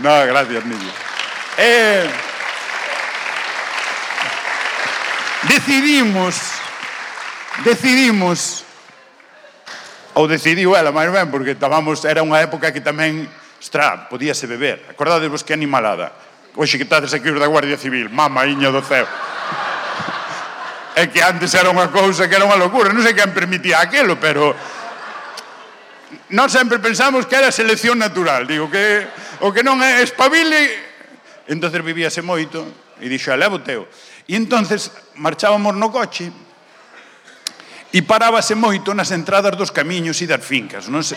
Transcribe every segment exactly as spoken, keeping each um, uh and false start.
No, gracias, niño. Eh, decidimos, decidimos, ou decidiu ela máis ben, porque estábamos, era unha época que tamén, ostra, podíase beber. Acordadevos que animalada. Oxe, que estades aquí os da Guardia Civil, mama, iña do ceo. É que antes era unha cousa que era unha locura, non sei quen permitía aquilo, pero nós sempre pensamos que era selección natural, digo, que o que non é espabile. Entonces vivíase moito, e dixo, levo teo. E entonces marchábamos no coche, e parábase moito nas entradas dos camiños e das fincas, non sei.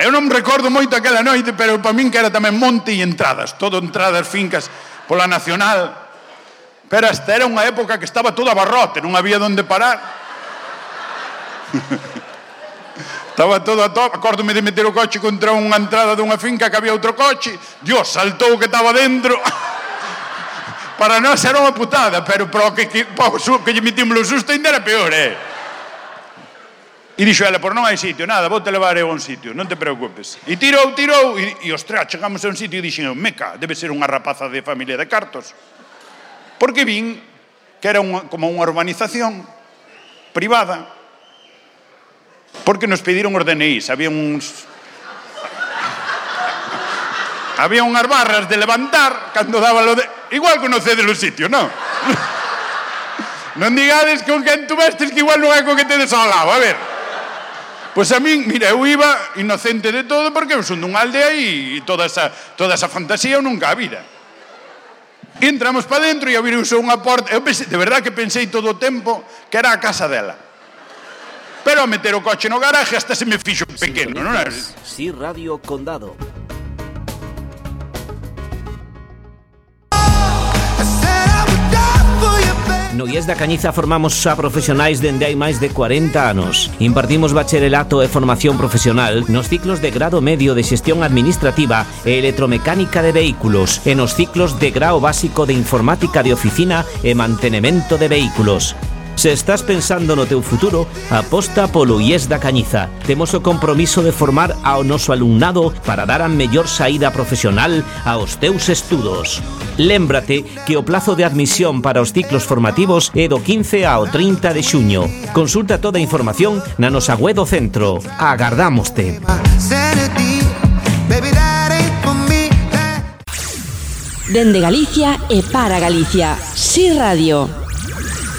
Eu non me recordo moito aquela noite, pero para min que era tamén monte e entradas, todo entradas, fincas, pola Nacional. Pero esta era unha época que estaba todo a barrote, non había onde parar. Estaba todo a top. Acórdome de meter o coche contra unha entrada dunha finca que había outro coche. Dios, saltou que estaba dentro. Para nós era unha putada, pero para o que, que, para o que lle metimos o susto ainda era peor, eh? E dixo ela, por non hai sitio, nada, vou te levar eu a un sitio, non te preocupes. E tirou, tirou, e, e ostras, chegamos a un sitio e dixen, meca, debe ser unha rapaza de familia de Cartos. Porque vin que era unha, como unha urbanización privada, porque nos pediron os D N Is, había uns... había unhas barras de levantar, cando daba lo de... Igual conocedes o sitio, non? Non digades con quen tú vestes, que igual non é con que tedes ao lado, a ver. Pois a min, mira, eu iba inocente de todo, porque eu son dunha aldea e toda esa, toda esa fantasía eu nunca a vida. E entramos para dentro e abriuse unha porta. Eu pensei, de verdad que pensei todo o tempo que era a casa dela. Pero a meter o coche no garaje hasta se me fixo pequeno, non é? Sí, Radio Condado. No I E S da Cañiza formamos xa profesionais dende hai máis de cuarenta anos. Impartimos bacharelato e formación profesional nos ciclos de grado medio de xestión administrativa e electromecánica de vehículos e nos ciclos de grao básico de informática de oficina e mantenimento de vehículos. Se estás pensando no teu futuro, aposta polo I E S da Cañiza. Temos o compromiso de formar ao noso alumnado para dar a mellor saída profesional aos teus estudos. Lémbrate que o plazo de admisión para os ciclos formativos é do quince ao trinta de xuño. Consulta toda a información na nosa web do centro. Agardámoste. Dende Galicia e para Galicia. Sí Radio.